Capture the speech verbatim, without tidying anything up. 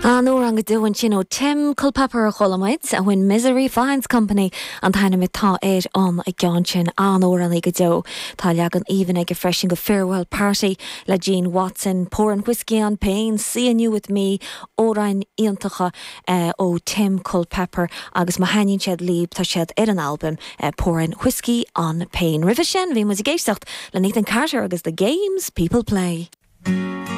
An-amhrán go deo ansin ó Tim Culpepper a chuala muid a When Misery Finds Company an t-ainm atá ar an gceann sin an-amhránaí go deo. Tá leagan aoibhinn aige freisin de Farewell Party le Gene Watson, Pouring Whiskey on Pain, Seeing You With Me, amhráin iontacha uh, ó Tim Culpepper agus má thaitníonn siad libh tá siad ar an album uh, Pouring Whiskey on Pain. Roimhe sin bhí muid ag éisteacht le Nathan Carter agus the Games People Play.